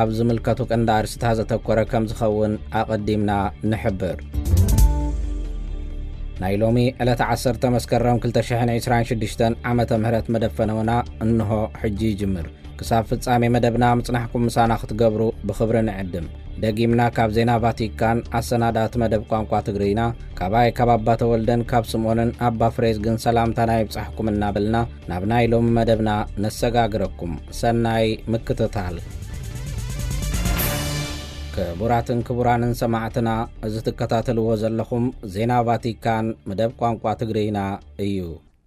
ኣብ ዝምልከቱ ቀንዲ ኣርእስታት ዘተኮረ ከም ዝኸውን ኣቐዲምና ንሕብር። ናይ ሎሚ ዕለት ዓሰርተ መስከረም ክልተ ሽሕን ዕስራን ሽዱሽተን ዓመተ ምህረት መደብ ፈነወና እንሆ ሕጂ ይጅምር። ክሳብ ፍጻሜ መደብና ምጽናሕኩም ምሳና ክትገብሩ ብኽብሪ ንዕድም። ደጊምና ካብ ዜና ቫቲካን ኣሰናዳእቲ መደብ ቋንቋ ትግርይና፣ ካባይ ካብ ኣባ ተወልደን ካብ ስምኦንን ኣባ ፍሬዝግን ሰላምታና ይብጻሕኩም እናበልና፣ ናብ ናይ ሎሚ መደብና ነሰጋግረኩም። ሰናይ ምክትታል። ክቡራትን ክቡራንን ሰማዕትና፣ እዚ ትከታተልዎ ዘለኹም ዜና ቫቲካን መደብ ቋንቋ ትግርይና እዩ።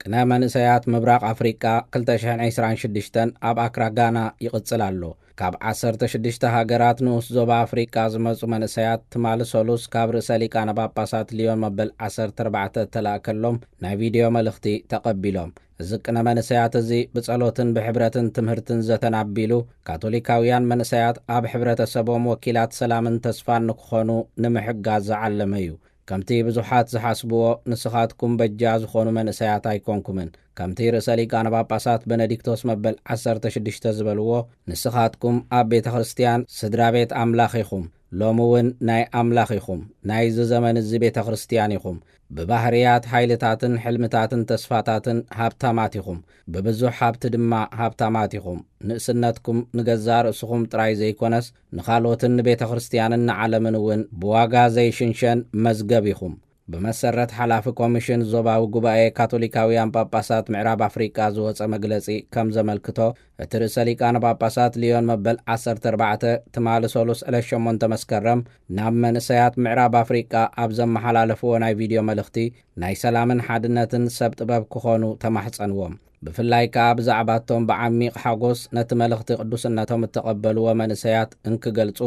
ቅነ መንእሰያት ምብራቕ ኣፍሪቃ ክልተ ሽሕን ዕስራን ሽዱሽተን ኣብ ኣክራ ጋና ይቕጽል ኣሎ። ካብ ዓሰርተ ሽዱሽተ ሃገራት ንኡስ ዞባ ኣፍሪቃ ዝመጹ መንእሰያት ትማሊ ሰሉስ ካብ ርእሰ ሊቃነ ጳጳሳት ሊዮን መበል ዓሰርተ ኣርባዕተ እተላእከሎም ናይ ቪድዮ መልእኽቲ ተቐቢሎም። እዚ ቅነ መንእሰያት እዚ ብጸሎትን ብሕብረትን ትምህርትን ዘተን ኣቢሉ፣ ካቶሊካውያን መንእሰያት ኣብ ሕብረተሰቦም ወኪላት ሰላምን ተስፋን ንክኾኑ ንምሕጋዝ ዝዓለመ እዩ። ከምቲ ብዙሓት ዝሓስብዎ፣ ንስኻትኩም በጃ ዝኾኑ መንእሰያት ኣይኮንኩምን። ከምቲ ርእሰ ሊቃነ ጳጳሳት በነዲክቶስ መበል ዓሰርተ ሽዱሽተ ዝበልዎ፣ ንስኻትኩም ኣብ ቤተ ክርስቲያን ስድራ ቤት ኣምላኽ ኢኹም። ሎሚ እውን ናይ ኣምላኽ ኢኹም። ናይዚ ዘመን እዚ ቤተ ክርስቲያን ኢኹም። ብባህርያት፣ ሓይልታትን ሕልምታትን ተስፋታትን ሃብታማት ኢኹም። ብብዙሕ ሃብቲ ድማ ሃብታማት ኢኹም። ንእስነትኩም ንገዛእ ርእስኹም ጥራይ ዘይኮነስ፣ ንኻልኦትን ንቤተ ክርስቲያንን ንዓለምን እውን ብዋጋ ዘይሽንሸን መዝገብ ኢኹም። ብመሰረት ሓላፊ ኮሚሽን ዞባዊ ጉባኤ ካቶሊካውያን ጳጳሳት ምዕራብ ኣፍሪቃ ዝወጸ መግለጺ ከም ዘመልክቶ፣ እቲ ርእሰ ሊቃነ ጳጳሳት ሊዮን መበል ዓሰርተ ኣርባዕተ ትማሊ ሰሉስ ዕለት ሸሞንተ መስከረም ናብ መንእሰያት ምዕራብ ኣፍሪቃ ኣብ ዘመሓላለፍዎ ናይ ቪድዮ መልእኽቲ፣ ናይ ሰላምን ሓድነትን ሰብ ጥበብ ክኾኑ ተማሕጸንዎም። ብፍላይ ከኣ ብዛዕባቶም ብዓሚቕ ሓጎስ ነቲ መልእኽቲ ቅዱስነቶም እተቐበልዎ መንእሰያት እንክገልጹ፣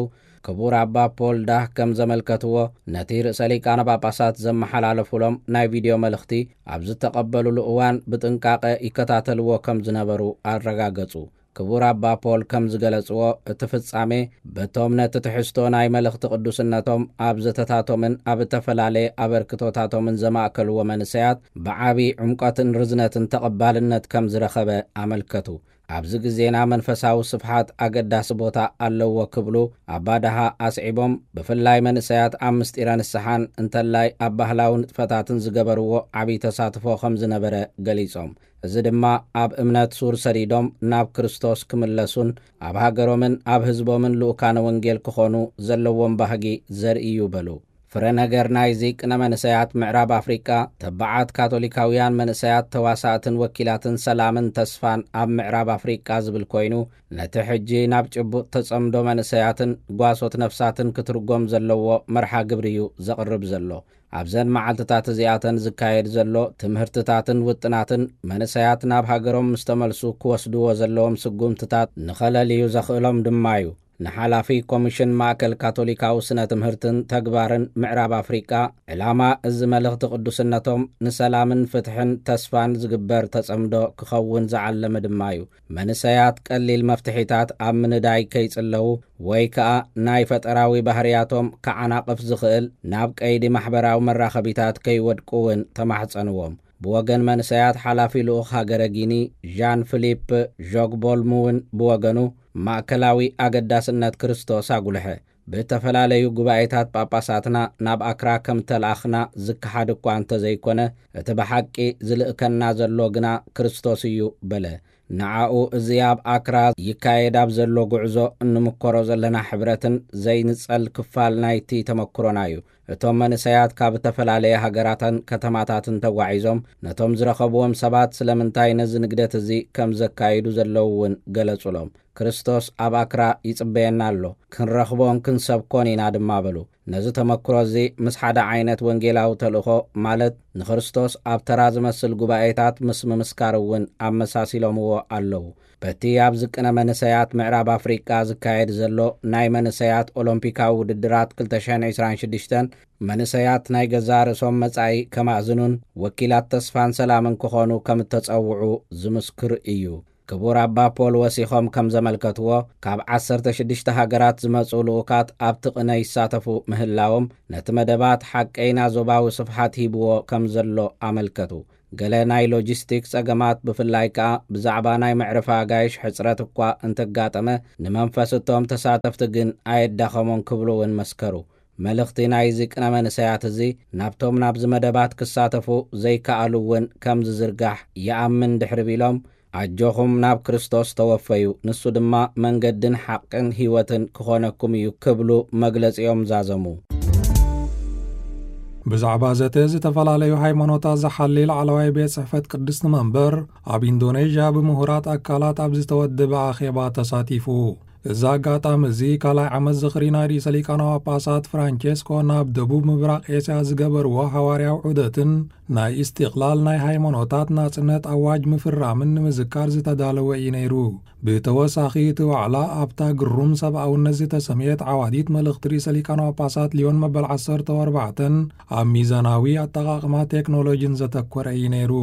ክቡር ኣባ ፖል ዳህ ከም ዘመልከትዎ፣ ነቲ ርእሰ ሊቃነ ጳጳሳት ዘመሓላለፉሎም ናይ ቪድዮ መልእኽቲ ኣብ ዝተቐበሉሉ እዋን ብጥንቃቐ ይከታተልዎ ከም ዝነበሩ ኣረጋገጹ። ክቡር ኣባ ፖል ከም ዝገለጽዎ፣ እቲ ፍጻሜ በቶም ነቲ ትሕዝቶ ናይ መልእኽቲ ቅዱስነቶም ኣብ ዘተታቶምን ኣብ እተፈላለየ ኣበርክቶታቶምን ዘማእከልዎ መንእሰያት ብዓቢ ዕምቆትን ርዝነትን ተቐባልነት ከም ዝረኸበ ኣመልከቱ። ኣብዚ ግዜና መንፈሳዊ ስፍሓት ኣገዳሲ ቦታ ኣለዎ ክብሉ ኣባ ደሃ ኣስዒቦም፣ ብፍላይ መንእሰያት ኣብ ምስጢረ ንስሓን እንተላይ ኣብ ባህላዊ ንጥፈታትን ዝገበርዎ ዓቢ ተሳትፎ ከም ዝነበረ ገሊጾም። እዚ ድማ ኣብ እምነት ሱር ሰዲዶም ናብ ክርስቶስ ክምለሱን ኣብ ሃገሮምን ኣብ ህዝቦምን ልኡካነ ወንጌል ክኾኑ ዘለዎም ባህጊ ዘርኢ እዩ በሉ። ፍረ ነገር ናይዚ ቅነ መንእሰያት ምዕራብ ኣፍሪቃ፣ ተባዓት ካቶሊካውያን መንእሰያት ተዋሳእትን ወኪላትን ሰላምን ተስፋን ኣብ ምዕራብ ኣፍሪቃ ዝብል ኮይኑ፣ ነቲ ሕጂ ናብ ጭቡጥ ተጸምዶ መንእሰያትን ጓሶት ነፍሳትን ክትርጎም ዘለዎ መርሓ ግብሪ እዩ ዘቕርብ ዘሎ። ኣብዘን መዓልትታት እዚኣተን ዝካየድ ዘሎ ትምህርትታትን ውጥናትን፣ መንእሰያት ናብ ሃገሮም ምስ ተመልሱ ክወስድዎ ዘለዎም ስጉምትታት ንኸለልዩ ዘኽእሎም ድማ እዩ። ንሓላፊ ኮሚሽን ማእከል ካቶሊካዊ ስነ ትምህርትን ተግባርን ምዕራብ ኣፍሪቃ፣ ዕላማ እዚ መልእኽቲ ቅዱስነቶም ንሰላምን ፍትሕን ተስፋን ዝግበር ተጸምዶ ክኸውን ዝዓለመ ድማ እዩ። መንእሰያት ቀሊል መፍትሒታት ኣብ ምንዳይ ከይጽለዉ ወይ ከኣ ናይ ፈጠራዊ ባህርያቶም ከዓናቕፍ ዝኽእል ናብ ቀይዲ ማሕበራዊ መራኸቢታት ከይወድቁ እውን ተማሕጸንዎም። ብወገን መንእሰያት ሓላፊ ልኡኽ ሃገረ ጊኒ ዣን ፊሊፕ ዦግቦልም እውን ብወገኑ ማእከላዊ ኣገዳስነት ክርስቶስ ኣጉልሐ። ብእተፈላለዩ ጉባኤታት ጳጳሳትና ናብ ኣክራ ከም ተለኣኽና ዝከሓድ እኳ እንተዘይኮነ፣ እቲ ብሓቂ ዝልእከና ዘሎ ግና ክርስቶስ እዩ በለ። ንዓኡ እዚ ኣብ ኣክራ ይካየድ ኣብ ዘሎ ጉዕዞ እንምኮሮ ዘለና ሕብረትን ዘይንጸል ክፋል ናይቲ ተመክሮና እዩ። እቶም መንእሰያት ካብ እተፈላለየ ሃገራትን ከተማታትን ተጓዒዞም ነቶም ዝረኸብዎም ሰባት ስለምንታይ ነዚ ንግደት እዚ ከም ዘካይዱ ዘለዉ እውን ገለጹሎም። ክርስቶስ ኣብ ኣክራ ይጽበየና ኣሎ፣ ክንረኽቦን ክንሰብኮን ኢና ድማ በሉ። ነዚ ተመክሮ እዚ ምስ ሓደ ዓይነት ወንጌላዊ ተልእኾ፣ ማለት ንክርስቶስ ኣብ ተራ ዝመስል ጉባኤታት ምስ ምምስካር እውን ኣመሳሲሎምዎ ኣለዉ። በቲ ኣብ ዝቅነ መንእሰያት ምዕራብ ኣፍሪቃ ዝካየድ ዘሎ ናይ መንእሰያት ኦሎምፒካዊ ውድድራት ክልተ ሽሕን ዕስራን ሽዱሽተን፣ መንእሰያት ናይ ገዛእ ርእሶም መጻኢ ከማእዝኑን ወኪላት ተስፋን ሰላምን ክኾኑ ከም እተጸውዑ ዝምስክር እዩ። ክቡር ኣባ ፖል ወሲኾም ከም ዘመልከትዎ፣ ካብ ዓሰርተ ሽዱሽተ ሃገራት ዝመጹ ልኡካት ኣብቲ ቅነ ይሳተፉ ምህላዎም፣ ነቲ መደባት ሓቀይና ዞባዊ ስፍሓት ሂብዎ ከም ዘሎ ኣመልከቱ። ገለ ናይ ሎጂስቲክስ ጸገማት፣ ብፍላይ ከኣ ብዛዕባ ናይ መዕረፊ ኣጋይሽ ሕጽረት እኳ እንተጋጠመ፣ ንመንፈስ እቶም ተሳተፍቲ ግን ኣየዳኸሞን ክብሉ እውን መስከሩ። መልእኽቲ ናይዚ ቅነ መንእሰያት እዚ ናብቶም ናብዚ መደባት ክሳተፉ ዘይከኣሉ እውን ከም ዝዝርጋሕ ይኣምን ድሕሪ ቢሎም፣ ኣጆኹም ናብ ክርስቶስ ተወፈዩ፣ ንሱ ድማ መንገድን ሓቅን ህይወትን ክኾነኩም እዩ ክብሉ መግለጺኦም ዛዘሙ። ብዛዕባ ዘተ ዝተፈላለዩ ሃይማኖታት ዝሓሊ ላዕለዋይ ቤት ጽሕፈት ቅድስቲ መንበር ኣብ ኢንዶኔዥያ ብምሁራት ኣካላት ኣብ ዝተወደበ ኣኼባ ተሳቲፉ። እዚ ኣጋጣሚ እዚ ካልኣይ ዓመት ዝኽሪ ናይ ርእሰ ሊቃነ ጳጳሳት ፍራንቼስኮ ናብ ደቡብ ምብራቕ ኤስያ ዝገበርዎ ሃዋርያዊ ዑደትን ናይ ኢስቲቕላል ናይ ሃይማኖታት ናጽነት ኣዋጅ ምፍራምን ንምዝካር ዝተዳለወ እዩ ነይሩ። ብተወሳኺ እቲ ዋዕላ ኣብታ ግሩም ሰብኣውነት ዝተሰምየት ዓዋዲት መልእኽቲ ርእሰ ሊቃነ ጳጳሳት ሊዮን መበል ዓሰርተ ኣርባዕተን ኣብ ሚዛናዊ ኣጠቓቕማ ቴክኖሎጂን ዘተኮረ እዩ ነይሩ።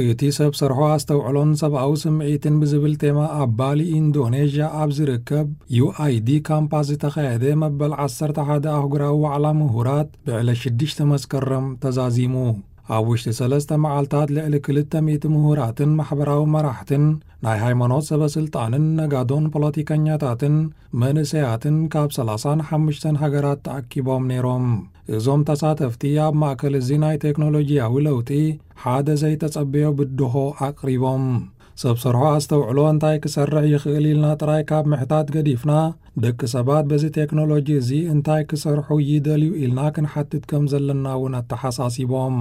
እቲ ሰብ ሰርሖ ኣስተውዕሎን ሰብኣዊ ስምዒትን ብዝብል ቴማ ኣብ ባሊ ኢንዶኔዥያ ኣብ ዝርከብ ዩ ኣይ ዲ ካምፓስ ዝተኻየደ መበል ዓሰርተ ሓደ ኣህጉራዊ ዋዕላ ምሁራት ብዕለት ሽዱሽተ መስከረም ተዛዚሙ። ኣብ ውሽጢ ሰለስተ መዓልታት ልዕሊ ክልተ ሚእቲ ምሁራትን ማሕበራዊ መራሕትን ናይ ሃይማኖት ሰበ ስልጣንን ነጋዶን ፖለቲከኛታትን መንእሰያትን ካብ ሰላሳን ሓሙሽተን ሃገራት ተኣኪቦም ነይሮም። እዞም ተሳተፍቲ ኣብ ማእከል እዚ ናይ ቴክኖሎጂያዊ ለውጢ ሓደ ዘይተጸበዮ ብድሆ ኣቕሪቦም። ሰብ ሰርሖ ኣስተውዕሎ እንታይ ክሰርሕ ይኽእል ኢልና ጥራይ ካብ ምሕታት ገዲፍና፣ ደቂ ሰባት በዚ ቴክኖሎጂ እዚ እንታይ ክሰርሑ ይደልዩ ኢልና ክንሓትት ከም ዘለና እውን ኣተሓሳሲቦም።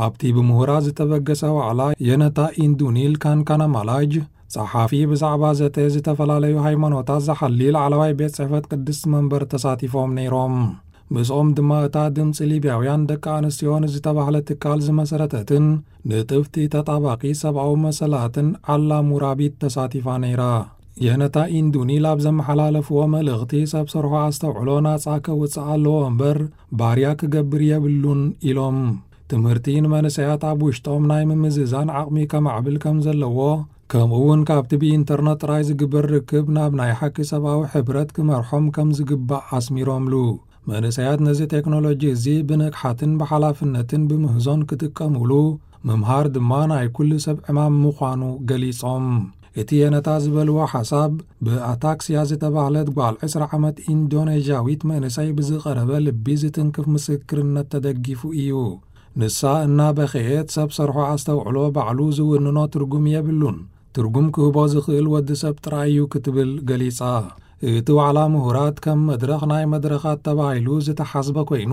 ኣብቲ ብምሁራት ዝተበገሰ ዋዕላ የነታ ኢንዱኒል ካንካናማላጅ፣ ጸሓፊ ብዛዕባ ዘተ ዝተፈላለዩ ሃይማኖታት ዝሓሊ ላዕለዋይ ቤት ጽሕፈት ቅድስቲ መንበር ተሳቲፎም ነይሮም። ምስኦም ድማ እታ ድምፂ ሊብያውያን ደቂ ኣንስትዮን ዝተባህለ ትካል ዝመሰረተትን ንጥፍቲ ተጣባቂ ሰብኣዊ መሰላትን ዓላ ሙራቢት ተሳቲፋ ነይራ። የነታ ኢንዱኒል ኣብ ዘመሓላለፍዎ መልእኽቲ፣ ሰብ ሰርሖ ኣስተውዕሎ ናጻ ከውፅእ ኣለዎ እምበር ባርያ ክገብር የብሉን ኢሎም። ትምህርቲ ንመንእሰያት ኣብ ውሽጦም ናይ ምምዝዛን ዓቕሚ ከማዕብል ከም ዘለዎ፣ ከምኡ እውን ካብቲ ብኢንተርነት ጥራይ ዝግበር ርክብ ናብ ናይ ሓቂ ሰብኣዊ ሕብረት ክመርሖም ከም ዝግባእ ኣስሚሮምሉ። መንእሰያት ነዚ ቴክኖሎጂ እዚ ብንቕሓትን ብሓላፍነትን ብምህዞን ክጥቀሙሉ ምምሃር ድማ ናይ ኩሉ ሰብ ዕማም ምዃኑ ገሊጾም። እቲ የነታ ዝበልዎ ሓሳብ፣ ብኣታክስያ ዝተባህለት ጓል ዕስራ ዓመት ኢንዶኔዥያዊት መንእሰይ ብዝቐረበ ልቢ ዝትንክፍ ምስክርነት ተደጊፉ እዩ። ንሳ እናበኸየት፣ ሰብ ሰርሖ ኣስተውዕሎ ባዕሉ ዝውንኖ ትርጉም የብሉን፣ ትርጉም ክህቦ ዝኽእል ወዲ ሰብ ጥራይ እዩ ክትብል ገሊጻ። እቲ ዋዕላ ምሁራት ከም መድረኽ ናይ መድረኻት ተባሂሉ ዝተሓስበ ኮይኑ፣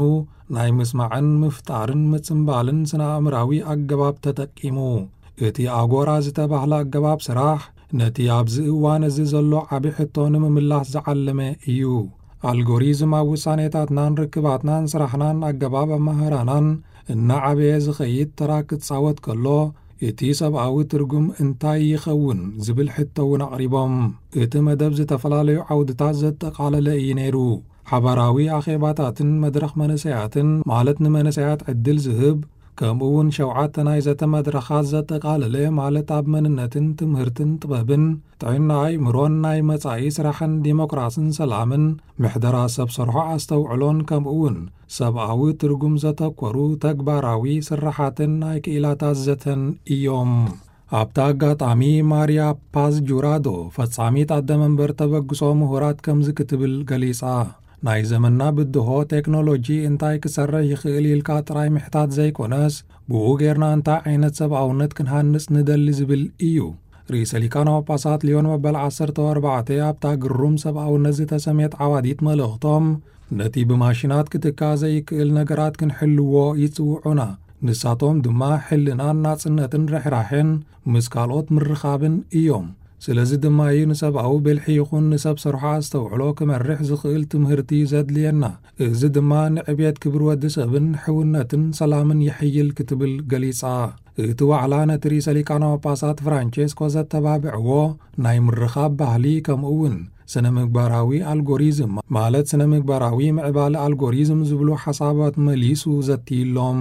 ናይ ምስማዕን ምፍጣርን ምጽምባልን ስነ ኣእምራዊ ኣገባብ ተጠቂሙ። እቲ ኣጎራ ዝተባህለ ኣገባብ ስራሕ፣ ነቲ ኣብዚ እዋን እዚ ዘሎ ዓቢ ሕቶ ንምምላስ ዝዓለመ እዩ። ኣልጎሪዝም ኣብ ውሳኔታትናን ርክባትናን ስራሕናን ኣገባብ ኣመሃራናን እናዓበየ ዝኸይድ ተራ ክጻወት ከሎ፣ እቲ ሰብኣዊ ትርጉም እንታይ ይኸውን ዝብል ሕቶ እውን ኣቕሪቦም። እቲ መደብ ዝተፈላለዩ ዓውድታት ዘጠቓለለ እዩ ነይሩ። ሓባራዊ ኣኼባታትን መድረኽ መንእሰያትን፣ ማለት ንመንእሰያት ዕድል ዝህብ፣ ከምኡ እውን ሸውዓተ ናይ ዘተ መድረኻት ዘጠቓለለ፣ ማለት ኣብ መንነትን ትምህርትን ጥበብን ጥዕና ኣእምሮን ናይ መጻኢ ስራሕን ዲሞክራስን ሰላምን ምሕደራ ሰብ ሰርሖ ኣስተውዕሎን፣ ከምኡ እውን ሰብኣዊ ትርጉም ዘተኮሩ ተግባራዊ ስራሓትን ናይ ክኢላታት ዘተን እዮም። ኣብቲ ኣጋጣሚ ማርያ ፓዝ ጁራዶ፣ ፈጻሚት ኣደ መንበር ተበግሶ ምሁራት ከምዚ ክትብል ገሊጻ። ናይ ዘመንና ብድሆ ቴክኖሎጂ እንታይ ክሰርሕ ይኽእል ኢልካ ጥራይ ምሕታት ዘይኮነስ፣ ብኡ ጌርና እንታይ ዓይነት ሰብኣውነት ክንሃንጽ ንደሊ ዝብል እዩ። ርእሰ ሊቃነ ጳጳሳት ሊዮን መበል ዓሰርተ ኣርባዕተ ኣብታ ግሩም ሰብኣውነት ዝተሰምየት ዓዋዲት መልእኽቶም፣ ነቲ ብማሽናት ክትካእ ዘይክእል ነገራት ክንሕልዎ ይጽውዑና። ንሳቶም ድማ ሕልናን ናጽነትን ርሕራሕን ምስ ካልኦት ምርኻብን እዮም። ስለዚ ድማ እዩ ንሰብኣዊ ብልሒ ይኹን ንሰብ ሰርሖ ኣስተውዕሎ ክመርሕ ዝኽእል ትምህርቲ ዘድልየና። እዚ ድማ ንዕብየት ክብሪ ወዲ ሰብን ሕውነትን ሰላምን የሕይል ክትብል ገሊጻ። እቲ ዋዕላ ነቲ ርእሰ ሊቃነ ጳጳሳት ፍራንቼስኮ ዘተባብዕዎ ናይ ምርኻብ ባህሊ፣ ከምኡ እውን ስነ ምግባራዊ ኣልጎሪዝም፣ ማለት ስነ ምግባራዊ ምዕባለ ኣልጎሪዝም ዝብሉ ሓሳባት መሊሱ ዘትይሎም።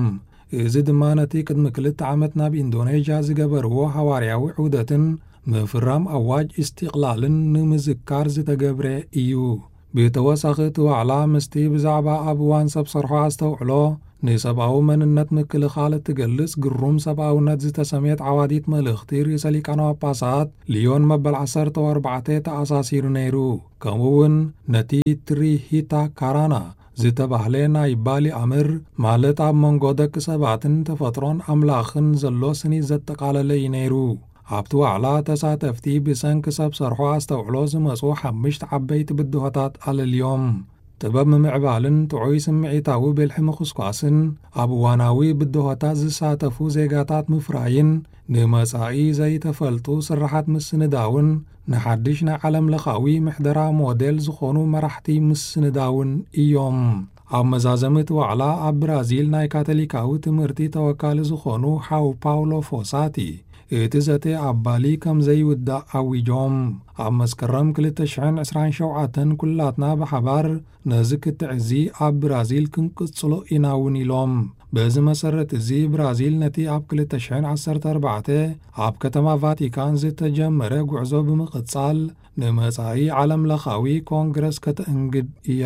እዚ ድማ ነቲ ቅድሚ ክልተ ዓመት ናብ ኢንዶኔዥያ ዝገበርዎ ሃዋርያዊ ዑደትን ምፍራም ኣዋጅ ኢስቲቕላልን ንምዝካር ዝተገብረ እዩ። ብተወሳኺ እቲ ዋዕላ ምስቲ ብዛዕባ ኣብ እዋን ሰብ ሰርሖ ኣስተውዕሎ ንሰብኣዊ መንነት ምክልኻል እትገልጽ ግሩም ሰብኣውነት ዝተሰምየት ዓዋዲት መልእኽቲ ርእሰ ሊቃነ ጳጳሳት ሊዮን መበል ዓሰርተ ኣርባዕተ ተኣሳሲሩ ነይሩ። ከምኡ እውን ነቲ ትሪሂታ ካራና ዝተባህለ ናይ ባሊ ኣምር፣ ማለት ኣብ መንጎ ደቂ ሰባትን ተፈጥሮን ኣምላኽን ዘሎ ስኒ ዘጠቓለለ እዩ ነይሩ። ኣብቲ ዋዕላ ተሳተፍቲ ብሰንኪ ሰብ ሰርሖ ኣስተውዕሎ ዝመጹ ሓሙሽተ ዓበይቲ ብድሆታት ኣለልዮም። ጥበብ ምምዕባልን ጥዑይ ስምዒታዊ ብልሒ ምኹስኳስን ኣብ እዋናዊ ብድሆታት ዝሳተፉ ዜጋታት ምፍራይን ንመጻኢ ዘይተፈልጡ ስራሓት ምስንዳውን ንሓድሽ ናይ ዓለም ለኻዊ ምሕደራ ሞዴል ዝኾኑ መራሕቲ ምስንዳውን እዮም። ኣብ መዛዘሚ እቲ ዋዕላ ኣብ ብራዚል ናይ ካቶሊካዊ ትምህርቲ ተወካሊ ዝኾኑ ሓው ፓውሎ ፎሳቲ እቲ ዘተ ኣብ ባሊ ከም ዘይውዳእ ኣዊጆም። ኣብ መስከረም ክልተ ሽሕን ዕስራን ሸውዓተን ኩላትና ብሓባር ነዚ ክትዕ እዚ ኣብ ብራዚል ክንቅጽሎ ኢና እውን ኢሎም። በዚ መሰረት እዚ ብራዚል ነቲ ኣብ ክልተ ሽሕን ዓሰርተ ኣርባዕተ ኣብ ከተማ ቫቲካን ዝተጀመረ ጉዕዞ ብምቕጻል ንመጻኢ ዓለም ለኻዊ ኮንግረስ ከተእንግድ እያ።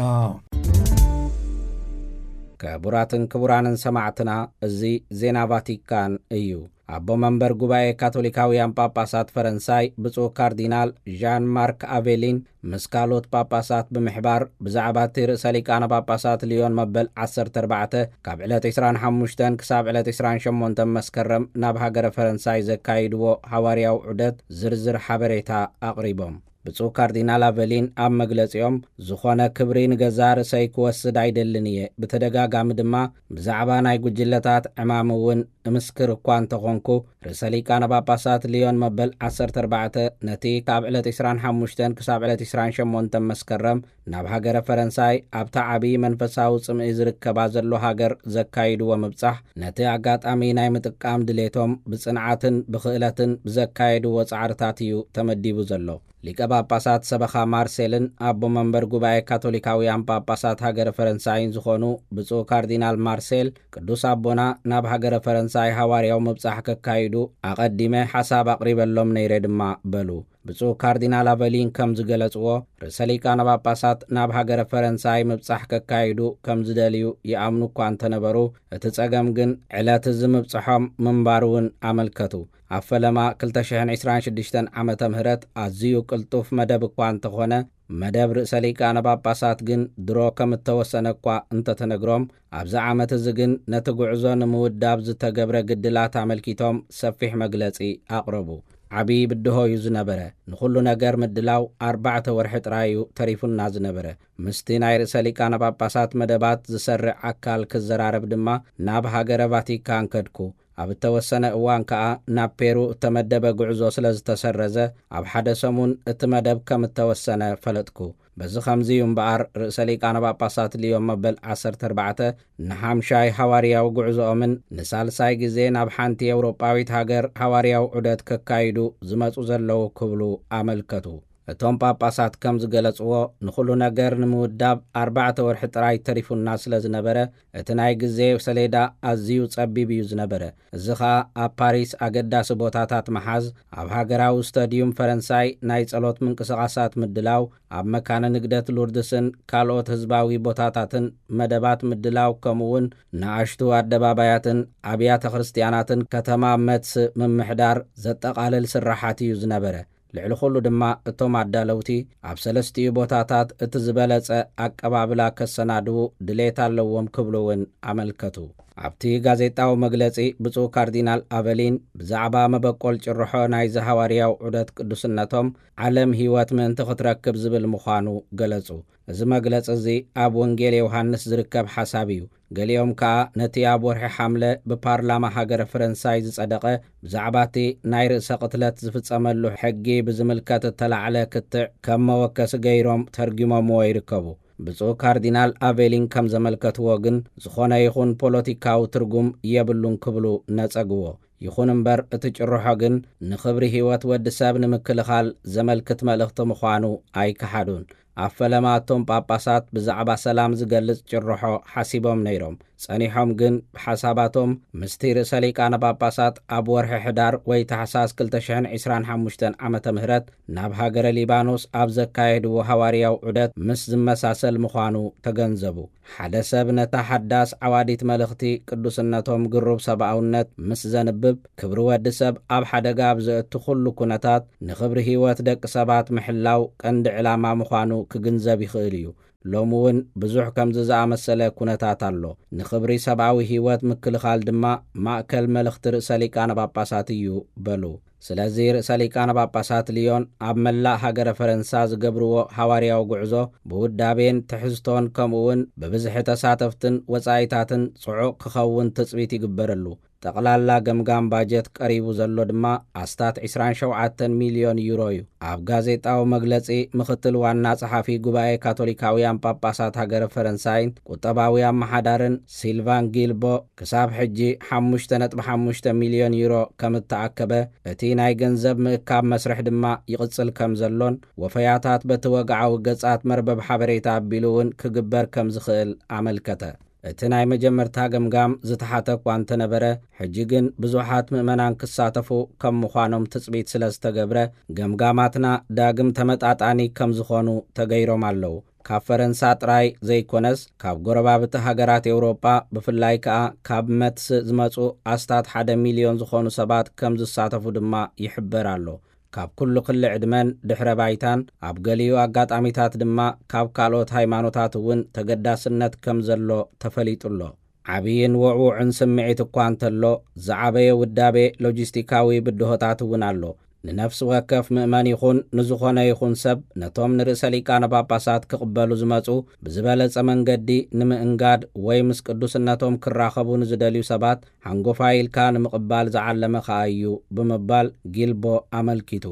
ክቡራትን ክቡራንን ሰማዕትና፣ እዚ ዜና ቫቲካን እዩ። ኣቦ መንበር ጉባኤ ካቶሊካውያን ጳጳሳት ፈረንሳይ ብፁዕ ካርዲናል ዣን ማርክ ኣቬሊን ምስ ካልኦት ጳጳሳት ብምሕባር ብዛዕባ እቲ ርእሰ ሊቃነ ጳጳሳት ሊዮን መበል ዓሰርተ ኣርባዕተ ካብ ዕለት ዕስራን ሓሙሽተን ክሳብ ዕለት ዕስራን ሸሞንተን መስከረም ናብ ሃገረ ፈረንሳይ ዘካይድዎ ሃዋርያዊ ዑደት ዝርዝር ሓበሬታ ኣቕሪቦም። ብፁዕ ካርዲናል ኣቨሊን ኣብ መግለጺኦም፣ ዝኾነ ክብሪ ንገዛእ ርእሰይ ክወስድ ኣይደልን እየ፣ ብተደጋጋሚ ድማ ብዛዕባ ናይ ጉጅለታት ዕማም እውን እምስክር እኳ እንተኾንኩ፣ ርእሰ ሊቃነ ጳጳሳት ሊዮን መበል ዓሰርተ ኣርባዕተ ነቲ ካብ ዕለት ዕስራን ሓሙሽተን ክሳብ ዕለት ዕስራን ሸሞንተን መስከረም ናብ ሃገረ ፈረንሳይ ኣብታ ዓቢ መንፈሳዊ ጽምኢ ዝርከባ ዘሎ ሃገር ዘካይድዎ ምብጻሕ፣ ነቲ ኣጋጣሚ ናይ ምጥቃም ድሌቶም ብጽንዓትን ብኽእለትን ብዘካየድዎ ጻዕርታት እዩ ተመዲቡ ዘሎ። ሊቀ ጳጳሳት ሰበኻ ማርሴልን ኣቦ መንበር ጉባኤ ካቶሊካውያን ጳጳሳት ሃገረ ፈረንሳይን ዝኾኑ ብፁዕ ካርዲናል ማርሴል፣ ቅዱስ ኣቦና ናብ ሃገረ ፈረንሳይ ሃዋርያዊ ምብጻሕ ከካይዱ ኣቐዲመ ሓሳብ ኣቕሪበሎም ነይረ ድማ በሉ። ብፁዕ ካርዲናል ኣቨሊን ከም ዝገለጽዎ፣ ርእሰ ሊቃነ ጳጳሳት ናብ ሃገረ ፈረንሳይ ምብጻሕ ከካይዱ ከም ዝደልዩ ይኣምኑ እኳ እንተነበሩ፣ እቲ ጸገም ግን ዕለት እዚ ምብጽሖም ምንባሩ እውን ኣመልከቱ። ኣብ ፈለማ ክልተ ሽሕን ዕስራን ሽዱሽተን ዓመተ ምህረት ኣዝዩ ቅልጡፍ መደብ እኳ እንተኾነ፣ መደብ ርእሰ ሊቃነ ጳጳሳት ግን ድሮ ከም እተወሰነ እኳ እንተተነግሮም፣ ኣብዚ ዓመት እዚ ግን ነቲ ጉዕዞ ንምውዳብ ዝተገብረ ግድላት ኣመልኪቶም ሰፊሕ መግለጺ ኣቕረቡ። ዓቢ ብድሆ እዩ ዝነበረ። ንኹሉ ነገር ምድላው ኣርባዕተ ወርሒ ጥራይ እዩ ተሪፉና ዝነበረ። ምስቲ ናይ ርእሰ ሊቃነ ጳጳሳት መደባት ዝሰርዕ ኣካል ክዘራረብ ድማ ናብ ሃገረ ቫቲካን ከድኩ። ኣብ እተወሰነ እዋን ከኣ ናብ ፔሩ እተመደበ ጉዕዞ ስለ ዝተሰረዘ፣ ኣብ ሓደ ሰሙን እቲ መደብ ከም እተወሰነ ፈለጥኩ። በዚ ኸምዚ እዩ እምበኣር፣ ርእሰ ሊቃነ ጳጳሳት ሊዮን መበል ዓሰርተ ኣርባዕተ ንሓምሻይ ሃዋርያዊ ጉዕዞኦምን ንሳልሳይ ግዜ ናብ ሓንቲ ኤውሮጳዊት ሃገር ሃዋርያዊ ዑደት ከካይዱ ዝመጹ ዘለዉ ክብሉ ኣመልከቱ። እቶም ጳጳሳት ከም ዝገለጽዎ፣ ንኹሉ ነገር ንምውዳብ ኣርባዕተ ወርሒ ጥራይ ተሪፉና ስለ ዝነበረ፣ እቲ ናይ ግዜ ሰሌዳ ኣዝዩ ጸቢብ እዩ ዝነበረ። እዚ ኸኣ ኣብ ፓሪስ ኣገዳሲ ቦታታት ምሓዝ፣ ኣብ ሃገራዊ ስታድዩም ፈረንሳይ ናይ ጸሎት ምንቅስቓሳት ምድላው፣ ኣብ መካነ ንግደት ሉርድስን ካልኦት ህዝባዊ ቦታታትን መደባት ምድላው፣ ከምኡውን ንኣሽቱ ኣደባባያትን ኣብያተ ክርስትያናትን ከተማ መትስ ምምሕዳር ዘጠቓልል ስራሓት እዩ ዝነበረ። ልዕሊ ኹሉ ድማ እቶም ኣዳለውቲ ኣብ ሰለስቲኡ ቦታታት እቲ ዝበለጸ ኣቀባብላ ከሰናድዉ ድሌት ኣለዎም ክብሉ እውን ኣመልከቱ። ኣብቲ ጋዜጣዊ መግለጺ፣ ብፁዕ ካርዲናል ኣቨሊን ብዛዕባ መበቆል ጭርሖ ናይዚ ሃዋርያዊ ዑደት ቅዱስነቶም፣ ዓለም ህይወት ምእንቲ ክትረክብ ዝብል ምዃኑ ገለጹ። እዚ መግለጺ እዚ ኣብ ወንጌል ዮሃንስ ዝርከብ ሓሳብ እዩ። ገሊኦም ከኣ ነቲ ኣብ ወርሒ ሓምለ ብፓርላማ ሃገረ ፈረንሳይ ዝጸደቐ፣ ብዛዕባ እቲ ናይ ርእሰ ቅትለት ዝፍጸመሉ ሕጊ ብዝምልከት እተላዕለ ክትዕ ከም መወከሲ ገይሮም ተርጒሞምዎ ይርከቡ። ብፁዕ ካርዲናል ኣቬሊን ከም ዘመልከትዎ ግን፣ ዝኾነ ይኹን ፖለቲካዊ ትርጉም የብሉን ክብሉ ነጸግዎ። ይኹን እምበር፣ እቲ ጭርሖ ግን ንኽብሪ ህይወት ወዲ ሰብ ንምክልኻል ዘመልክት መልእኽቲ ምዃኑ ኣይከሓዱን። ኣብ ፈለማ እቶም ጳጳሳት ብዛዕባ ሰላም ዝገልጽ ጭርሖ ሓሲቦም ነይሮም። ጸኒሖም ግን ብሓሳባቶም ምስቲ ርእሰ ሊቃነ ጳጳሳት ኣብ ወርሒ ሕዳር ወይ ታሕሳስ ክልተ ሽሕን ዕስራን ሓሙሽተን ዓመተ ምህረት ናብ ሃገረ ሊባኖስ ኣብ ዘካየድዎ ሃዋርያዊ ዑደት ምስ ዝመሳሰል ምዃኑ ተገንዘቡ። ሓደ ሰብ ነታ ሓዳስ ዓዋዲት መልእኽቲ ቅዱስነቶም ግሩብ ሰብኣውነት ምስ ዘንብብ፣ ክብሪ ወዲ ሰብ ኣብ ሓደጋ ኣብ ዘእቱ ኩሉ ኩነታት ንኽብሪ ህይወት ደቂ ሰባት ምሕላው ቀንዲ ዕላማ ምዃኑ ክግንዘብ ይኽእል እዩ። ሎሚ እውን ብዙሕ ከምዚ ዝኣመሰለ ኩነታት ኣሎ። ንኽብሪ ሰብኣዊ ህይወት ምክልኻል ድማ ማእከል መልእኽቲ ርእሰ ሊቃነ ጳጳሳት እዩ በሉ። ስለዚ ርእሰ ሊቃነ ጳጳሳት ልዮን ኣብ መላእ ሃገረ ፈረንሳ ዝገብርዎ ሃዋርያዊ ጉዕዞ ብውዳቤን ትሕዝቶን ከምኡ እውን ብብዝሒ ተሳተፍትን ወጻኢታትን ጽዑቕ ክኸውን ትጽቢት ይግበረሉ። ጠቕላላ ገምጋም ባጀት ቀሪቡ ዘሎ ድማ ኣስታት ዕስራን ሸውዓተን ሚልዮን ዩሮ እዩ። ኣብ ጋዜጣዊ መግለጺ ምኽትል ዋና ጸሓፊ ጉባኤ ካቶሊካውያን ጳጳሳት ሃገረ ፈረንሳይን ቁጠባዊ ኣመሓዳርን ሲልቫን ጊልቦ፣ ክሳብ ሕጂ ሓሙሽተ ነጥቢ ሓሙሽተ ሚልዮን ዩሮ ከም እተኣከበ፣ እቲ ናይ ገንዘብ ምእካብ መስርሕ ድማ ይቕጽል ከም ዘሎን ወፈያታት በቲ ወግዓዊ ገጻት መርበብ ሓበሬታ ኣቢሉ እውን ክግበር ከም ዝኽእል ኣመልከተ። እቲ ናይ መጀመርታ ገምጋም ዝተሓተ እኳ እንተነበረ፣ ሕጂ ግን ብዙሓት ምእመናን ክሳተፉ ከም ምዃኖም ትጽቢት ስለ ዝተገብረ፣ ገምጋማትና ዳግም ተመጣጣኒ ከም ዝኾኑ ተገይሮም ኣለዉ። ካብ ፈረንሳ ጥራይ ዘይኮነስ፣ ካብ ጎረባብቲ ሃገራት ኤውሮጳ፣ ብፍላይ ከኣ ካብ መትስ ዝመጹ ኣስታት ሓደ ሚልዮን ዝኾኑ ሰባት ከም ዝሳተፉ ድማ ይሕበር ኣሎ። ካብ ኩሉ ክሊ ዕድመን ድሕረ ባይታን፣ ኣብ ገሊኡ ኣጋጣሚታት ድማ ካብ ካልኦት ሃይማኖታት እውን ተገዳስነት ከም ዘሎ ተፈሊጡ ኣሎ። ዓብይን ውዕውዕን ስምዒት እኳ እንተሎ፣ ዝዓበየ ውዳቤ ሎጂስቲካዊ ብድሆታት እውን ኣሎ። ንነፍሲ ወከፍ ምእመን ይኹን ንዝኾነ ይኹን ሰብ፣ ነቶም ንርእሰ ሊቃነ ጳጳሳት ክቕበሉ ዝመጹ ብዝበለጸ መንገዲ ንምእንጋድ ወይ ምስ ቅዱስነቶም ክራኸቡ ንዝደልዩ ሰባት ሓንጎፋይ ኢልካ ንምቕባል ዝዓለመ ከኣ እዩ ብምባል ጊልቦ ኣመልኪቱ።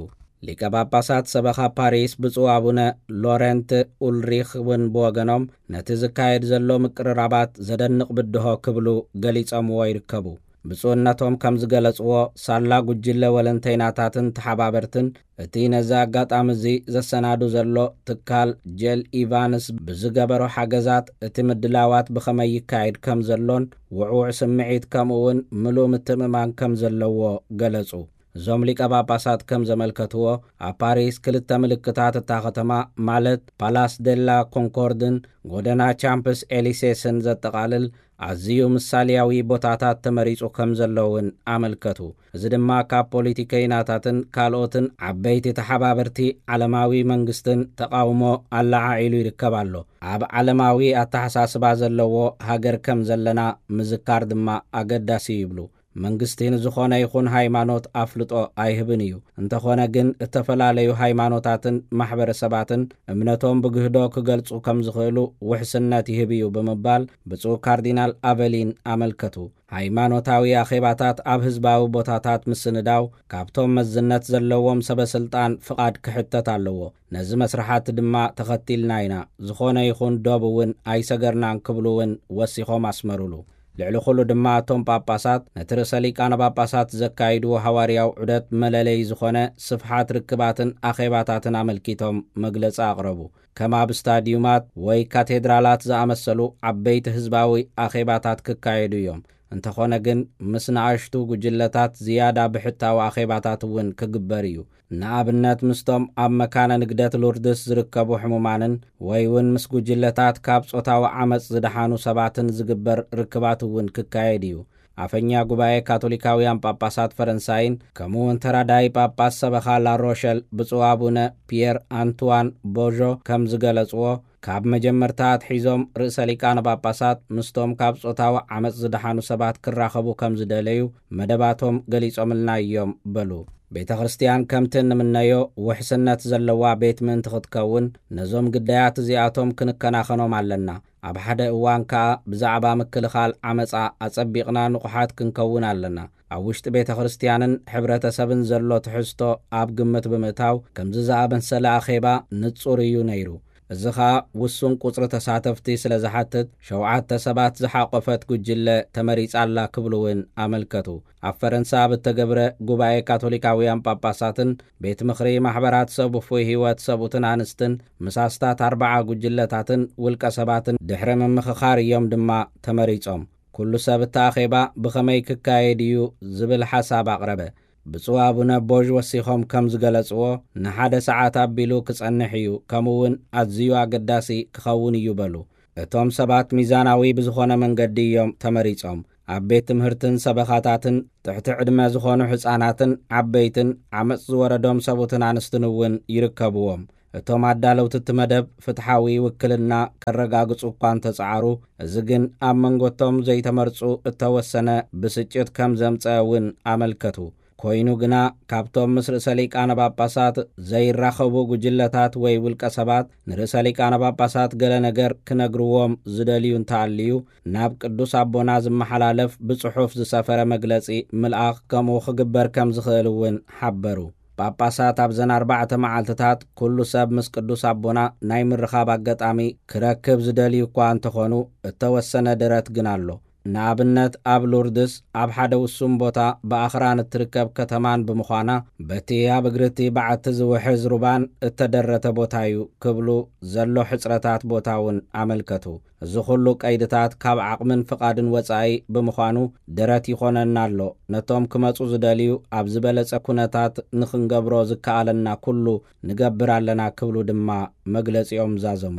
ሊቀ ጳጳሳት ሰበኻ ፓሪስ ብፁዕ ኣቡነ ሎረንት ኡልሪኽ እውን ብወገኖም፣ ነቲ ዝካየድ ዘሎ ምቅርራባት ዘደንቕ ብድሆ ክብሉ ገሊጾምዎ ይርከቡ። ብፁዕነቶም ከም ዝገለጽዎ፣ ሳላ ጉጅለ ወለንተይናታትን ተሓባበርትን፣ እቲ ነዚ ኣጋጣሚ እዚ ዘሰናዱ ዘሎ ትካል ጄል ኢቫንስ ብዝገበሮ ሓገዛት፣ እቲ ምድላዋት ብኸመይ ይካየድ ከም ዘሎን ውዕውዕ ስምዒት ከምኡ እውን ምሉእ ምትእምማን ከም ዘለዎ ገለጹ። እዞም ሊቀ ጳጳሳት ከም ዘመልከትዎ፣ ኣብ ፓሪስ ክልተ ምልክታት እታ ከተማ፣ ማለት ፓላስ ደላ ኮንኮርድን ጎደና ቻምፕስ ኤሊሴስን ዘጠቓልል ኣዝዩ ምሳልያዊ ቦታታት ተመሪጹ ከም ዘሎ እውን ኣመልከቱ። እዚ ድማ ካብ ፖለቲከይናታትን ካልኦትን ዓበይቲ ተሓባበርቲ ዓለማዊ መንግስትን ተቓውሞ ኣለዓዒሉ ይርከብ ኣሎ። ኣብ ዓለማዊ ኣተሓሳስባ ዘለዎ ሃገር ከም ዘለና ምዝካር ድማ ኣገዳሲ ይብሉ። መንግስቲ ንዝኾነ ይኹን ሃይማኖት ኣፍልጦ ኣይህብን እዩ። እንተኾነ ግን፣ እተፈላለዩ ሃይማኖታትን ማሕበረሰባትን እምነቶም ብግህዶ ክገልጹ ከም ዝኽእሉ ውሕስነት ይህብ እዩ ብምባል ብፁዕ ካርዲናል ኣቨሊን ኣመልከቱ። ሃይማኖታዊ ኣኼባታት ኣብ ህዝባዊ ቦታታት ምስንዳው ካብቶም መዝነት ዘለዎም ሰበ ስልጣን ፍቓድ ክሕተት ኣለዎ። ነዚ መስርሓት ድማ ተኸቲልና ኢና፣ ዝኾነ ይኹን ዶብ እውን ኣይሰገርናን ክብሉ እውን ወሲኾም ኣስመሩሉ። ልዕሊ ኩሉ ድማ እቶም ጳጳሳት ነቲ ርእሰ ሊቃነ ጳጳሳት ዘካይድዎ ሃዋርያዊ ዑደት መለለዪ ዝኾነ ስፍሓት ርክባትን ኣኼባታትን ኣመልኪቶም መግለጺ ኣቕረቡ። ከም ኣብ ስታድዩማት ወይ ካቴድራላት ዝኣመሰሉ ዓበይቲ ህዝባዊ ኣኼባታት ክካየዱ እዮም። እንተኾነ ግን፣ ምስ ንኣሽቱ ጉጅለታት ዝያዳ ብሕታዊ ኣኼባታት እውን ክግበር እዩ። ንኣብነት፣ ምስቶም ኣብ መካነ ንግደት ሉርድስ ዝርከቡ ሕሙማንን ወይ እውን ምስ ጉጅለታት ካብ ጾታዊ ዓመጽ ዝደሓኑ ሰባትን ዝግበር ርክባት እውን ክካየድ እዩ። ኣፈኛ ጉባኤ ካቶሊካውያን ጳጳሳት ፈረንሳይን ከምኡ እውን ተራዳኢ ጳጳስ ሰበኻ ላሮሸል ብፁዕ ኣቡነ ፒየር ኣንትዋን ቦዦ ከም ዝገለጽዎ፣ ካብ መጀመርታ ኣትሒዞም ርእሰ ሊቃነ ጳጳሳት ምስቶም ካብ ጾታዊ ዓመጽ ዝደሓኑ ሰባት ክራኸቡ ከም ዝደለዩ መደባቶም ገሊጾምልና እዮም በሉ። ቤተ ክርስቲያን ከምቲ እንምነዮ ውሕስነት ዘለዋ ቤት ምእንቲ ክትከውን፣ ነዞም ግዳያት እዚኣቶም ክንከናኸኖም ኣለና። ኣብ ሓደ እዋን ከኣ ብዛዕባ ምክልኻል ዓመጻ ኣጸቢቕና ንቑሓት ክንከውን ኣለና። ኣብ ውሽጢ ቤተ ክርስቲያንን ሕብረተሰብን ዘሎ ትሕዝቶ ኣብ ግምት ብምእታው፣ ከምዚ ዝኣመሰለ ኣኼባ ንጹር እዩ ነይሩ። እዚ ኸኣ ውሱን ቁጽሪ ተሳተፍቲ ስለ ዝሓትት፣ ሸውዓተ ሰባት ዝሓቖፈት ጉጅለ ተመሪጻ ኣላ ክብሉ እውን ኣመልከቱ። ኣብ ፈረንሳ ኣብ እተገብረ ጉባኤ ካቶሊካውያን ጳጳሳትን ቤት ምኽሪ ማሕበራት ሰብ ውፉይ ህይወት ሰብኡትን ኣንስትን ምስ ኣስታት ኣርብዓ ጉጅለታትን ውልቀ ሰባትን ድሕሪ ምምኽኻር እዮም ድማ ተመሪጾም። ኩሉ ሰብ እቲ ኣኼባ ብኸመይ ክካየድ እዩ ዝብል ሓሳብ ኣቕረበ። ብፁዕ ኣቡነ ቦዥ ወሲኾም ከም ዝገለጽዎ፣ ንሓደ ሰዓት ኣቢሉ ክጸንሕ እዩ፣ ከምኡ እውን ኣዝዩ ኣገዳሲ ክኸውን እዩ በሉ። እቶም ሰባት ሚዛናዊ ብዝኾነ መንገዲ እዮም ተመሪጾም። ኣብ ቤት ትምህርትን ሰበኻታትን ትሕቲ ዕድመ ዝኾኑ ሕፃናትን ዓበይትን ዓመጽ ዝወረዶም ሰብኡትን ኣንስትን እውን ይርከብዎም። እቶም ኣዳለውቲ እቲ መደብ ፍትሓዊ ውክልና ከረጋግጹ እኳ እንተጸዓሩ፣ እዚ ግን ኣብ መንጎቶም ዘይተመርጹ እተወሰነ ብስጭት ከም ዘምጸአ እውን ኣመልከቱ። ኮይኑ ግና፣ ካብቶም ምስ ርእሰ ሊቃነ ጳጳሳት ዘይራኸቡ ጉጅለታት ወይ ውልቀ ሰባት ንርእሰ ሊቃነ ጳጳሳት ገለ ነገር ክነግርዎም ዝደልዩ እንተኣልዩ፣ ናብ ቅዱስ ኣቦና ዝመሓላለፍ ብጽሑፍ ዝሰፈረ መግለጺ ምልኣኽ ከምኡ ክግበር ከም ዝኽእል እውን ሓበሩ። ጳጳሳት ኣብዘን ኣርባዕተ መዓልትታት ኩሉ ሰብ ምስ ቅዱስ ኣቦና ናይ ምርኻብ ኣጋጣሚ ክረክብ ዝደልዩ እኳ እንተኾኑ፣ እተወሰነ ደረት ግን ኣሎ። ንኣብነት፣ ኣብ ሉርድስ ኣብ ሓደ ውሱን ቦታ ብኣኽራን እትርከብ ከተማን ብምዃና፣ በቲ ኣብ እግሪ እቲ በዓቲ ዝውሕዝ ሩባን እተደረተ ቦታ እዩ ክብሉ ዘሎ ሕጽረታት ቦታ እውን ኣመልከቱ። እዚ ኹሉ ቀይድታት ካብ ዓቕምን ፍቓድን ወጻኢ ብምዃኑ፣ ደረት ይኾነና ኣሎ። ነቶም ክመጹ ዝደልዩ ኣብ ዝበለጸ ኩነታት ንኽንገብሮ ዝከኣለና ኩሉ ንገብር ኣለና ክብሉ ድማ መግለጺኦም ዛዘሙ።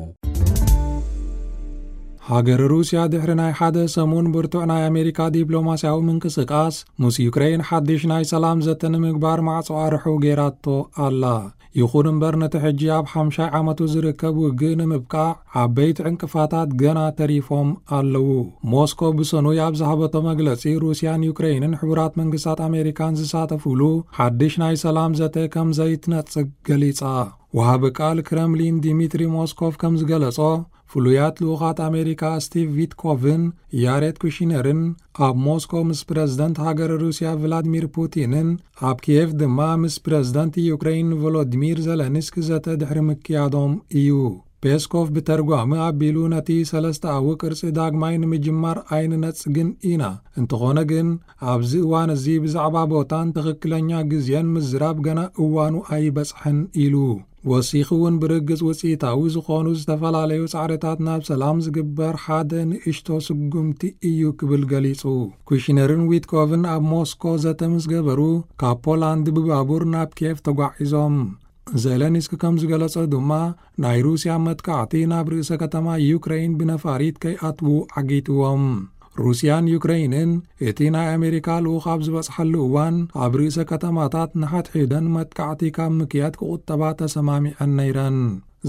ሃገር ሩስያ ድሕሪ ናይ ሓደ ሰሙን ብርቱዕ ናይ ኣሜሪካ ዲፕሎማስያዊ ምንቅስቃስ፣ ምስ ዩክሬን ሓድሽ ናይ ሰላም ዘተ ንምግባር ማዕጾ ኣርሑ ገይራቶ ኣላ። ይኹን እምበር፣ ነቲ ሕጂ ኣብ ሓምሻይ ዓመቱ ዝርከብ ውግእ ንምብቃዕ ዓበይቲ ዕንቅፋታት ገና ተሪፎም ኣለዉ። ሞስኮ ብሰኑይ ኣብ ዝሃበቶ መግለጺ፣ ሩስያን ዩክሬንን ሕቡራት መንግስታት ኣሜሪካን ዝሳተፉሉ ሓድሽ ናይ ሰላም ዘተ ከም ዘይትነጽግ ገሊጻ። ወሃቢ ቃል ክረምሊን ዲሚትሪ ሞስኮቭ ከም ዝገለጾ፣ ፍሉያት ልኡኻት ኣሜሪካ ስቲቭ ዊትኮቭን ያሬድ ኩሽነርን ኣብ ሞስኮ ምስ ፕረዚደንት ሃገር ሩስያ ቭላድሚር ፑቲንን ኣብ ኪየቭ ድማ ምስ ፕረዚደንት ዩክሬን ቮሎዲሚር ዘለንስኪ ዘተ ድሕሪ ምክያዶም እዩ። ፔስኮቭ ብተርጓሚ ኣቢሉ፣ ነቲ ሰለስተኣዊ ቅርጺ ዳግማይ ንምጅማር ኣይንነጽግን ኢና፣ እንተኾነ ግን ኣብዚ እዋን እዚ ብዛዕባ ቦታን ትኽክለኛ ግዜን ምዝራብ ገና እዋኑ ኣይበጽሐን ኢሉ። ወሲኹ እውን ብርግጽ ውጽኢታዊ ዝኾኑ ዝተፈላለዩ ጻዕርታት ናብ ሰላም ዝግበር ሓደ ንእሽቶ ስጉምቲ እዩ ክብል ገሊጹ። ኩሽነርን ዊትኮቭን ኣብ ሞስኮ ዘተ ምስ ገበሩ ካብ ፖላንድ ብባቡር ናብ ኬቭ ተጓዒዞም። ዘለንስኪ ከም ዝገለጸ ድማ ናይ ሩስያ መጥቃዕቲ ናብ ርእሰ ከተማ ዩክሬን ብነፋሪት ከይኣትዉ ዓጊትዎም። ሩስያን ዩክሬንን እቲ ናይ ኣሜሪካ ልኡኽ ኣብ ዝበጽሓሉ እዋን ኣብ ርእሰ ከተማታት ንሓድሕደን መጥቃዕቲ ካብ ምክያድ ክቑጠባ ተሰማሚዐን ነይረን።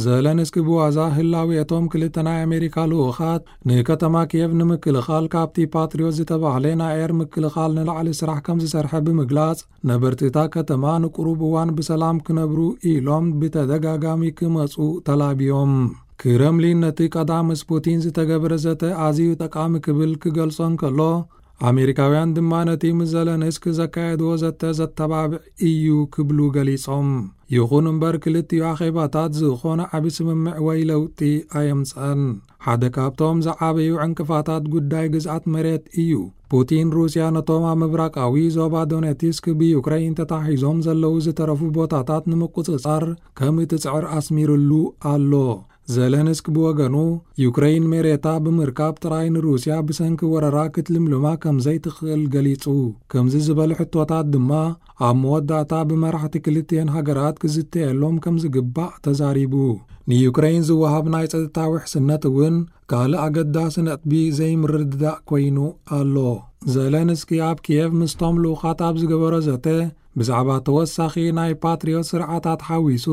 ዘለንስኪ ብዋዛ ህላዌ እቶም ክልተ ናይ ኣሜሪካ ልኡኻት ንከተማ ኪየቭ ንምክልኻል ካብቲ ፓትሪዮት ዝተባህለ ናይ ኣየር ምክልኻል ንላዕሊ ስራሕ ከም ዝሰርሐ ብምግላጽ፣ ነበርቲ እታ ከተማ ንቁሩብ እዋን ብሰላም ክነብሩ ኢሎም ብተደጋጋሚ ክመጹ ተላብዮም። ክረምሊን ነቲ ቀዳም ምስ ፑቲን ዝተገብረ ዘተ ኣዝዩ ጠቃሚ ክብል ክገልጾ እንከሎ፣ ኣሜሪካውያን ድማ ነቲ ምስ ዘለንስኪ ዘካየድዎ ዘተ ዘተባብዕ እዩ ክብሉ ገሊጾም። ይኹን እምበር፣ ክልቲኡ ኣኼባታት ዝኾነ ዓቢ ስምምዕ ወይ ለውጢ ኣየምጽአን። ሓደ ካብቶም ዝዓበዩ ዕንቅፋታት ጉዳይ ግዝኣት መሬት እዩ። ፑቲን፣ ሩስያ ነቶም ኣብ ምብራቃዊ ዞባ ዶኔትስክ ብዩክሬን ተታሒዞም ዘለዉ ዝተረፉ ቦታታት ንምቁጽጻር ከም እትጽዕር ኣስሚርሉ ኣሎ። ዘለንስክ ብወገኑ፣ ዩክሬን መሬታ ብምርካብ ጥራይ ንሩስያ ብሰንኪ ወረራ ክትልምልማ ከም ዘይትኽእል ገሊጹ። ከምዚ ዝበሉ ሕቶታት ድማ ኣብ መወዳእታ ብመራሕቲ ክልቲኤን ሃገራት ክዝተየሎም ከም ዝግባእ ተዛሪቡ። ንዩክሬን ዝወሃብ ናይ ጸጥታ ውሕስነት እውን ካልእ ኣገዳሲ ነጥቢ ዘይምርድዳእ ኮይኑ ኣሎ። ዘለንስኪ ኣብ ኪየቭ ምስቶም ልኡኻት ኣብ ዝገበሮ ዘተ፣ ብዛዕባ ተወሳኺ ናይ ፓትሪዮት ስርዓታት ሓዊሱ፣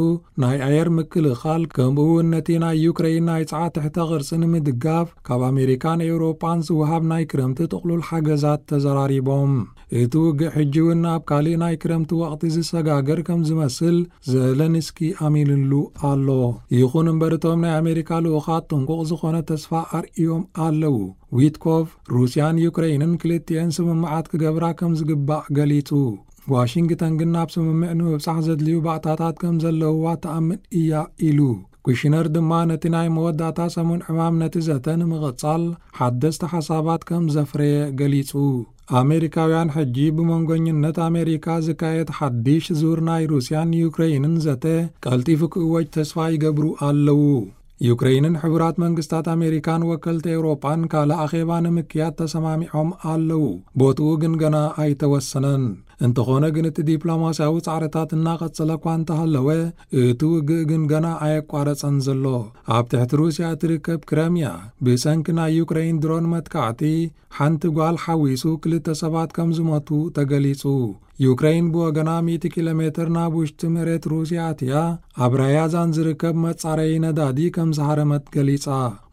ናይ ኣየር ምክልኻል፣ ከምኡ እውን ነቲ ናይ ዩክሬን ናይ ጸዓት ትሕተ ቅርጺ ንምድጋፍ ካብ ኣሜሪካን ኤውሮጳን ዝወሃብ ናይ ክረምቲ ጥቕሉል ሓገዛት ተዘራሪቦም። እቲ ውግእ ሕጂ እውን ኣብ ካልእ ናይ ክረምቲ ወቕቲ ዝሰጋገር ከም ዝመስል ዘለንስኪ ኣሚንሉ ኣሎ። ይኹን እምበር፣ እቶም ናይ ኣሜሪካ ልኡኻት ጥንቁቕ ዝኾነ ተስፋ ኣርእዮም ኣለዉ። ዊትኮቭ፣ ሩስያን ዩክሬንን ክልቲኤን ስምምዓት ክገብራ ከም ዝግባእ ገሊጹ። ዋሽንግተን ግን ናብ ስምምዕ ንምብጻሕ ዘድልዩ ባእታታት ከም ዘለውዋ ትኣምን እያ ኢሉ። ኩሽነር ድማ ነቲ ናይ መወዳእታ ሰሙን ዕማም ነቲ ዘተ ንምቕጻል ሓደስቲ ሓሳባት ከም ዘፍረየ ገሊጹ። ኣሜሪካውያን ሕጂ ብመንጎኝነት ኣሜሪካ ዝካየድ ሓድሽ ዙር ናይ ሩስያን ዩክሬይንን ዘተ ቀልጢፉ ክእወጅ ተስፋ ይገብሩ ኣለዉ። ዩክሬይንን ሕቡራት መንግስታት ኣሜሪካን ወከልቲ ኤውሮጳን ካልእ ኣኼባ ንምክያድ ተሰማሚዖም ኣለዉ። ቦትኡ ግን ገና ኣይተወሰነን። እንተኾነ ግን እቲ ዲፕሎማስያዊ ጻዕርታት እናቐጸለ እኳ እንተሃለወ፣ እቲ ውግእ ግን ገና ኣየቋረጸን ዘሎ። ኣብ ትሕቲ ሩስያ እትርከብ ክረምያ ብሰንኪ ናይ ዩክሬይን ድሮን መጥቃዕቲ ሓንቲ ጓል ሓዊሱ ክልተ ሰባት ከም ዝሞቱ ተገሊጹ። ዩክሬይን ብወገና ሚእቲ ኪሎ ሜትር ናብ ውሽጢ መሬት ሩስያ ኣትያ ኣብ ራያዛን ዝርከብ መጻረዪ ነዳዲ ከም ዝሃረመት ገሊጻ።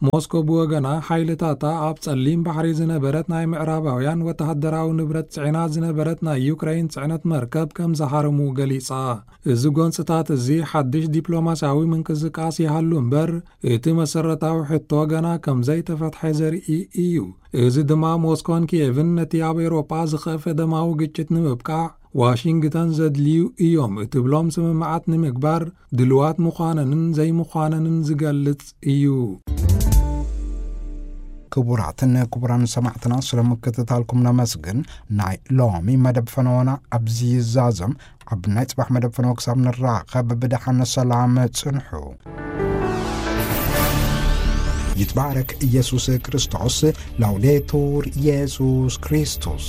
ሞስኮ ብወገና ሓይልታታ ኣብ ጸሊም ባሕሪ ዝነበረት ናይ ምዕራባውያን ወተሃደራዊ ንብረት ጽዒና ዝነበረት ናይ ዩክሬይን ጽዕነት መርከብ ከም ዝሃረሙ ገሊጻ። እዚ ጎንጽታት እዚ ሓድሽ ዲፕሎማስያዊ ምንቅስቃስ ይሃሉ እምበር፣ እቲ መሰረታዊ ሕቶ ገና ከም ዘይተፈትሐ ዘርኢ እዩ። እዚ ድማ ሞስኮን ኪየቭን ነቲ ኣብ ኤውሮጳ ዝኸፍአ ደማዊ ግጭት ንምብቃዕ ዋሽንግተን ዘድልዩ እዮም እትብሎም ስምምዓት ንምግባር ድልዋት ምዃነንን ዘይምዃነንን ዝገልጽ እዩ። ክቡራትን ክቡራን ሰማዕትና፣ ስለ ምክትታልኩም ነመስግን። ናይ ሎሚ መደብ ፈነወና ኣብዚ ይዛዘም። ኣብ ናይ ጽባሕ መደብ ፈነወ ክሳብ ንራኸብ ብደሓን ሰላም ጽንሑ። ይትባረክ ኢየሱስ ክርስቶስ። ላውዴቱር ኢየሱስ ክርስቶስ።